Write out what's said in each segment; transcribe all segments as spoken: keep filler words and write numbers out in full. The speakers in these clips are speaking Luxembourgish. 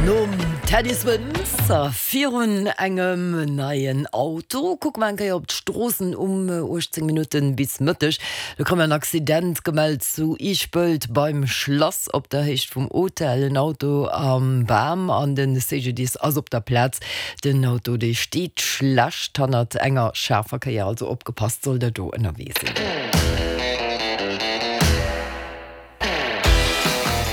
Nom Teddy Swims virun engem neien Auto kucke mer eng Kéier op d'Stroossen um uechtzéng Minutten bis Mëtteg. Do krute mer en Accident gemellt zu Ischpelt beim Schlass op der Héicht vum Hotel. En Auto am Bam an den C G D I S ass op der Plaz. Den Auto dee steet schlecht hannert enger schaarfer Kéier, also opgepasst sollt der do ënnerwee sinn.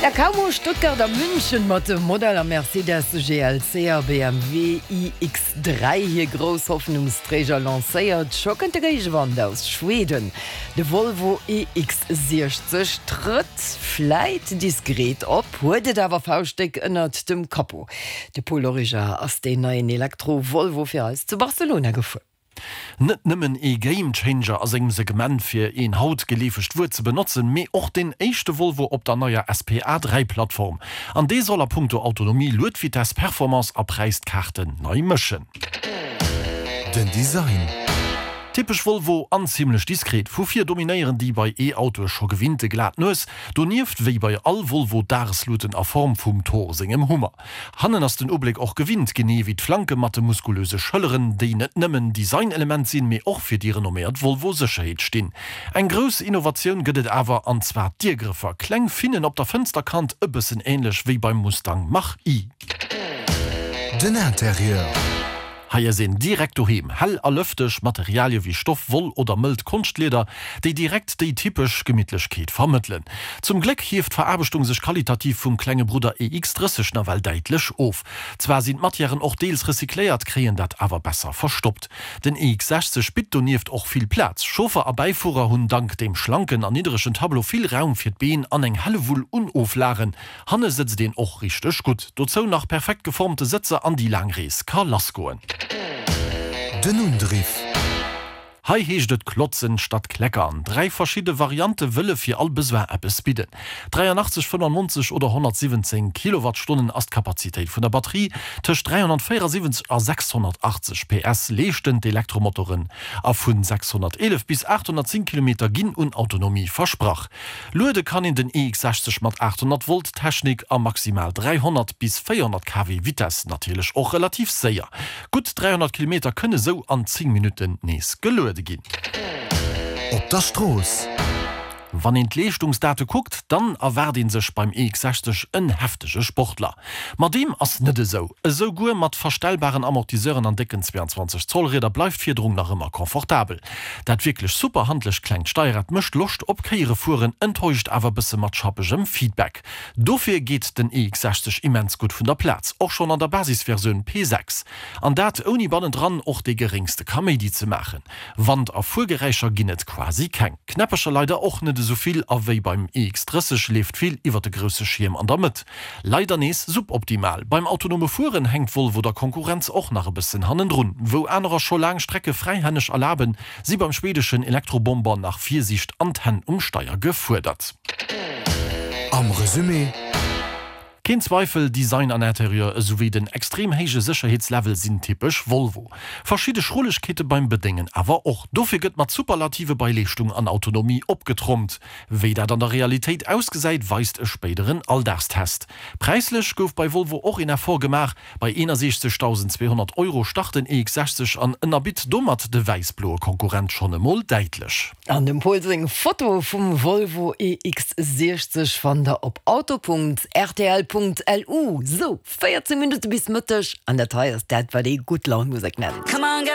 Ja, kaum hu Stuttgart a München mat de Modeller Mercedes G L C a B M W I X dräi hir grouss Hoffnungsträger lancéiert, scho kënnt de Géigewand aus Schweden. De Volvo E X siechzeg trëtt vläit diskret op, huet et awer fauschtdéck ënnert dem Capot. De Paul Origer ass deen neien Elektro-Volvo fir eis zu Barcelona gefuer. Net nëmmen ee Gamechanger a sengem Segment, fir een haut geleefegt Wuert ze benotzen, mee och den éischte Volvo op der neier S P A dräi Plattform. An dee soll a punkto Autonomie, Luedvitess, Performance a Präis d'Kaarten nei mëschen. Den Design. Typesch Volvo an zimlech diskret. Vu vir dominéieren déi bei E-Autoe scho gewinnte glat Nues, donieft wéi bei all Volvo Dagesluten a Form vum Thor sengem Hummer. Hannen ass den Ubléck och gewinnt, genee wéi d'Flanke mat de muskulöse Schëlleren, déi net nëmmen Designelement sinn, mee och fir déi renomméiert Volvo-Sécherheet stinn. Eng grouss Innovatioun gëtt et awer, an zwar d'Diergrëffer, kleng Finnen op der Fënsterkant, e bëssen änlech wéi beim Mustang Mach-E. Den Interieur. Hei ass een direkt doheem, hell a lëfteg, Materialie wéi Stoff, Woll oder mëllt Konschtlieder, déi direkt déi typesch Gemittlechkeet vermëttelen. Zum Gléck hieft d'Veraarbechtung sech qualitativ vum klenge Brudder E X drësseg nawell däitlech of. Zwar sinn d'Matièren och deels recycléiert, kréien dat awer besser verstoppt. Den E X sechzeg bitt donieft och vill Plaz. Chauffer a Bäifuerer hunn dank dem schlanken an niddregen Tableau vill Raum fir d'Been an eng Hellewull un Oflagen. Hanne sëtzt een och richteg gutt. Dozou nach perfekt geformte Sëtzer an déi laang Rees ka lassgoen. Den Undriff. Hei heescht et klotzen statt kleckern. Dräi verschidde Variante wëlle fir all Besoin eppes bidden. dräianachtzeg, fënnefannonzeg oder honnertsiwwenzéng Kilowattstonnen ass d'Kapazitéit vun der Batterie. Tëscht dräihonnertvéierasiwwenzeg a sechshonnertachtzeg P S leeschten d'Elektromotoren a vun sechshonnerteelef bis aathonnertzéng Kilometer ginn un Autonomie versprach. Luede kann een den E X sechzeg mat aathonnert Volt Technik a maximal dräihonnert bis véierhonnert K W Vitess natierlech och relativ séier. Gutt dräihonnert Kilometer kënne sou an zéng Minutten nees geluede ginn. Op der Strooss. Wann een d'Leeschtungsdate kuckt, dann erwaart ee sech beim E X sechzeg en heftege Sportler. Ma deem ass net esou. Esouguer mat verstellbaren Amortisseuren an décken zwéianzwanzeg Zoll Rieder bleift d'Fiederung nach ëmmer confortabel. Dat wierklech super handlecht klengt Steierrad mécht Loscht op Kéiere fueren, enttäuscht awer bësse mat schappegem Feedback. Dofir geet den E X sechzeg immens gutt vun der Plaz, och schonn an der Basisversioun P sechs. An dat ouni bannendran och dee geréngste Kaméidi ze maachen. Wand a Fuergeräischer ginn et quasi keng. Knäppercher leider och net esou vill a wéi beim E X drësseg leeft vill iwwer de grousse Schierm an der Mëtt. Leider nees suboptimal. Beim autonome Fueren hänkt Volvo der Konkurrenz och nach e bëssen hannendrun. Wou anerer scho laang Strecke fräihänneg erlaben, si beim schwedeschen Elektrobomber nach Virsiicht an d'Hänn um Steier gefuerdert. Am Resumé. Keen Zweifel, Design an Interieur esouwéi den extrem héije Sécherheetslevel sinn typesch Volvo. Verschidde Schrullegkeete beim Bedéngen awer och. Dofir gëtt mat Superlative bei Leeschtung an Autonomie opgetrompt. Wéi dat an der Realitéit ausgesäit, weist e spéideren Alldagstest. Präislech gouf bei Volvo och een Effort gemaach, bei eenasechzegdausendzweehonnert Euro start den E X sechzeg an ënnerbitt domat de wäiss-bloe Konkurrent schonn emol däitlech. An dem Paul seng Foto vum Volvo E X siechzeg fannt der op auto Punkt R T L Punkt L U. Sou, véierzéng Minutte bis Mëtteg an dat hei ass dat, wat ee Gutt-Laun-Musek nennt. Come on, get